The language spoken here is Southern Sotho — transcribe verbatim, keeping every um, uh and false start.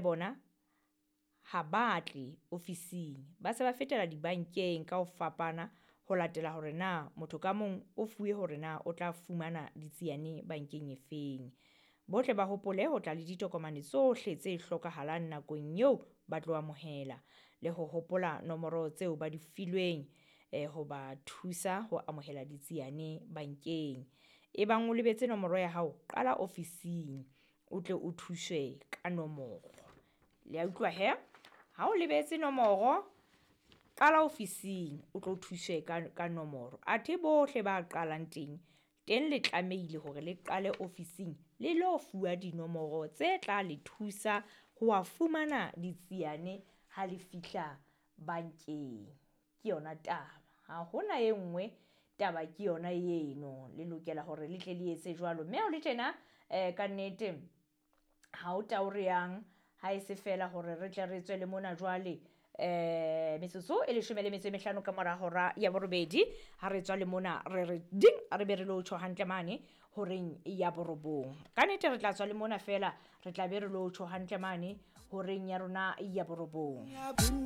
Bona ha ba tle ofising, ba se ba fetela dibankeng ka ho fapana ho latela hore na motho ka mong o fuwe hore na o tla fumana ditsiane bankeng efeng. Bohle ba hopole ho tla le ditokomane tsohle tse hlokahalang nakong eo ba tlo amohela le ho hopola nomoro tseo ba di filweng eh, ho ba thusa ho amohela ditsiane bankeng. Ebang o lebetse nomoro ya hao, qala ofising o tle o thuswe ka nomoro. Le a utlwa he? Ha o lebetse nomoro, qala ofising o tlo thuswe ka, ka nomoro. Athe bohle ba qalang teng, teng le tlamehile hore le qale ofising le lo fuwa dinomoro tse tla le thusa ho wa fumana ditsiane ha le fihla bankeng. Ke yona taba, ha hona e nngwe taba ke yona eno. Le lokela hore le tle le etse jwalo. Mme ha o le tjena eh, ka nnete ha o tao re yang ha e se fela hore re tle re tswe le mona jwale eh metsotso e leshome le metso e mehlano ka mora hora ya borobedi ha re tswa le mona re re ding re be re lo tjho hantle mane horeng ya borobong. Ka nnete re tla tswa le mona fela re tla be re lo tjho hantle mane horeng ya rona ya borobong.